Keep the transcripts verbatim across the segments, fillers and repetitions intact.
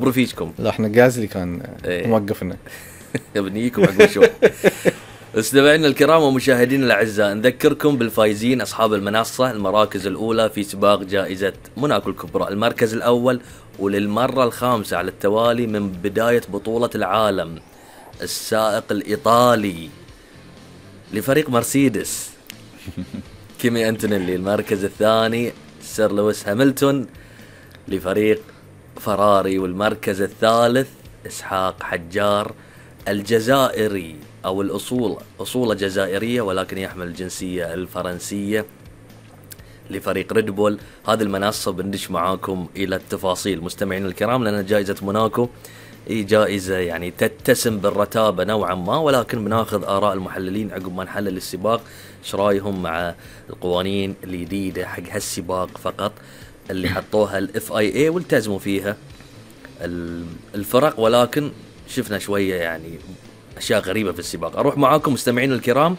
برفيجكم. لا احنا جازلي كان ايه. موقفنا بنيكم عقب شوي. مستمعينا الكرام ومشاهدينا الاعزاء، نذكركم بالفايزين اصحاب المنصه المراكز الاولى في سباق جائزه موناكو الكبرى. المركز الاول وللمره الخامسه على التوالي من بدايه بطوله العالم السائق الايطالي لفريق مرسيدس كيمي أنتونيلي. المركز الثاني سير لويس هاملتون لفريق فراري. والمركز الثالث إسحاق حجار الجزائري أو الأصول أصول جزائرية ولكن يحمل الجنسية الفرنسية لفريق ريد بول. هذه المنصة بندش معاكم إلى التفاصيل مستمعين الكرام، لأن جائزة موناكو هي جائزة يعني تتسم بالرتابة نوعا ما، ولكن بناخذ آراء المحللين عقب ما نحلل السباق ايش رايهم مع القوانين الجديدة حق هالسباق فقط اللي حطوها الاف اي اي والتزموا فيها الفرق، ولكن شفنا شوية يعني اشياء غريبة في السباق. اروح معاكم مستمعين الكرام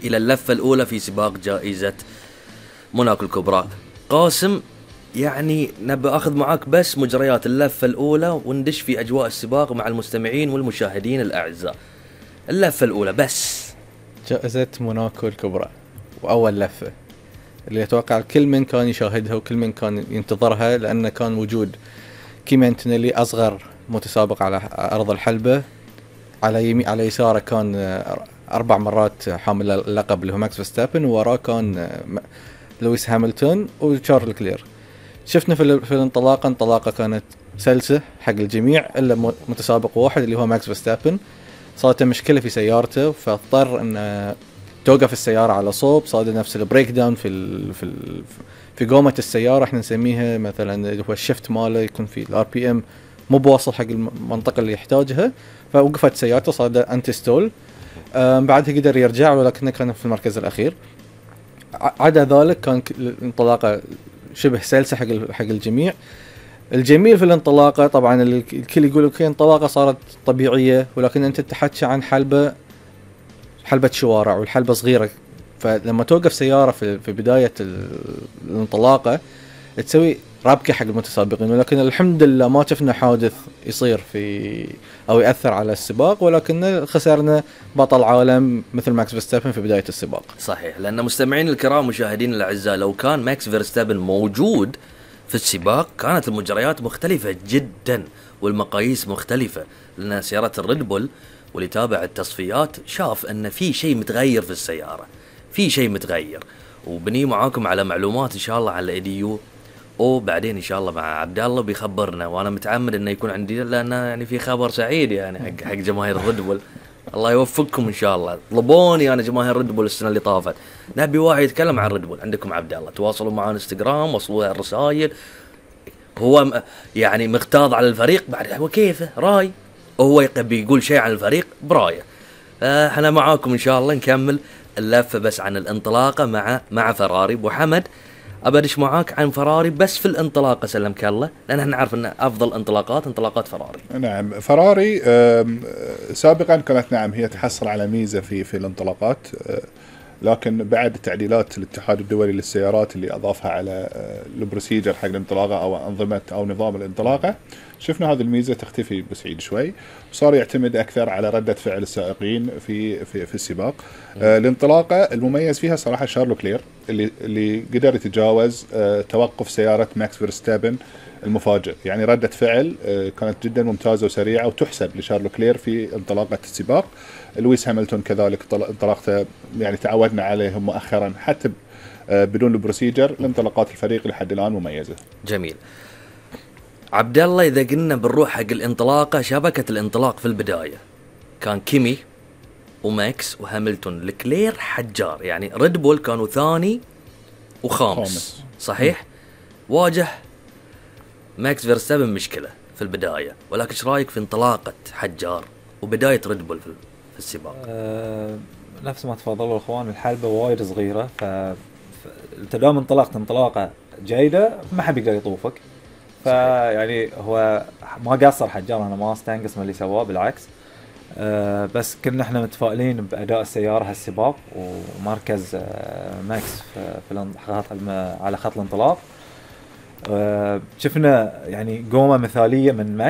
الى اللفة الاولى في سباق جائزة موناكو الكبرى. قاسم يعني نبي أخذ معاك بس مجريات اللفة الأولى وندش في أجواء السباق مع المستمعين والمشاهدين الأعزاء. اللفة الأولى بس جائزة موناكو الكبرى وأول لفة اللي أتوقع كل من كان يشاهدها وكل من كان ينتظرها، لأن كان وجود كيمي أنتونيلي أصغر متسابق على أرض الحلبة، على يمين على يساره كان أربع مرات حامل اللقب اللي هو ماكس فيرستابن، ووراه كان لويس هاملتون وشارل كلير. شفنا في في الانطلاقه انطلاقه كانت سلسه حق الجميع الا متسابق واحد اللي هو ماكس فيرستابن. صارت مشكله في سيارته فاضطر ان توقف السياره على صوب، صار نفس البريك داون في ال في ال في قومه السياره، احنا نسميها مثلا اللي هو الشفت ماله يكون في الار بي ام مو بواصل حق المنطقه اللي يحتاجها، فوقفت سيارته صار انتي ستول. بعدها قدر يرجع ولكنه كان في المركز الاخير. عدا ذلك كان الانطلاقه شبه سلسة حق حق الجميع. الجميل في الانطلاقة طبعا الكل يقول اوكي انطلاقة صارت طبيعية، ولكن انت تحكي عن حلبة حلبة شوارع والحلبة صغيرة، فلما توقف سيارة في في بداية الانطلاقة تسوي رابكة حق المتسابقين، ولكن الحمد لله ما شفنا حادث يصير في او يأثر على السباق، ولكن خسرنا بطل عالم مثل ماكس فيرستابن في بداية السباق. صحيح، لأن مستمعين الكرام مشاهدين الأعزاء لو كان ماكس فيرستابن موجود في السباق كانت المجريات مختلفة جدا والمقاييس مختلفة، لأن سيارة الريد بول واللي تابع التصفيات شاف أن في شيء متغير في السيارة، في شيء متغير. وبني معاكم على معلومات إن شاء الله على إيديو وبعدين إن شاء الله مع عبد الله بيخبرنا، وأنا متعمد إنه يكون عندي لأنه يعني في خبر سعيد يعني حق حق جماهير الريد بول. الله يوفقكم إن شاء الله. طلبوني أنا جماهير الريد بول السنة اللي طافت نبي واحد يتكلم عن الريد بول، عندكم عبد الله، تواصلوا معنا انستغرام، وصلوا الرسائل. هو يعني مغتاظ على الفريق بعد هو كيفه راي، وهو يقبل يقول شيء عن الفريق برايه. احنا معاكم إن شاء الله نكمل اللفة بس عن الانطلاقة مع مع فراري. أبو حمد أبدش معاك عن فراري بس في الانطلاقة سلمك الله، لأن احنا نعرف أن أفضل انطلاقات انطلاقات فراري. نعم فراري سابقا كانت نعم هي تحصل على ميزة في في الانطلاقات، لكن بعد تعديلات الاتحاد الدولي للسيارات اللي أضافها على البروسيجر حق الانطلاقة أو أنظمة أو نظام الانطلاقة، شفنا هذه الميزة تختفي بسعيد شوي، وصار يعتمد أكثر على ردة فعل السائقين في في في السباق. آه الانطلاقة المميز فيها صراحة شارلو كلير اللي اللي قدر يتجاوز آه توقف سيارة ماكس فيرستابن المفاجئ، يعني ردة فعل آه كانت جدا ممتازة وسريعة وتحسب لشارلو كلير في انطلاقة السباق. لويس هاملتون كذلك انطلاقته يعني تعودنا عليهم مؤخرا حتى آه بدون البروسيجر، الانطلاقات الفريق لحد الآن مميزة. جميل. عبد الله إذا قلنا بنروح حق الانطلاقة، شبكة الانطلاق في البداية كان كيمي وماكس وهاملتون لكلير حجار، يعني ريد بول كانوا ثاني وخامس خامس. صحيح. م. واجه ماكس فيرستابن مشكلة في البداية، ولكن ايش رايك في انطلاقة حجار وبداية ريد بول في في السباق؟ أه نفس ما تفضلوا الاخوان، الحلبة وايد صغيرة، ف التدام انطلاقة انطلاقة جيدة ما حد يقدر يطوفك، فيعني هو ما قصر حجار، انا ما استنقص من اللي سواه بالعكس. أه بس كنا احنا متفائلين باداء السياره هالسباق ومركز أه ماكس في, في على خط الانطلاق. آه، شفنا يعني قومه مثاليه من ماك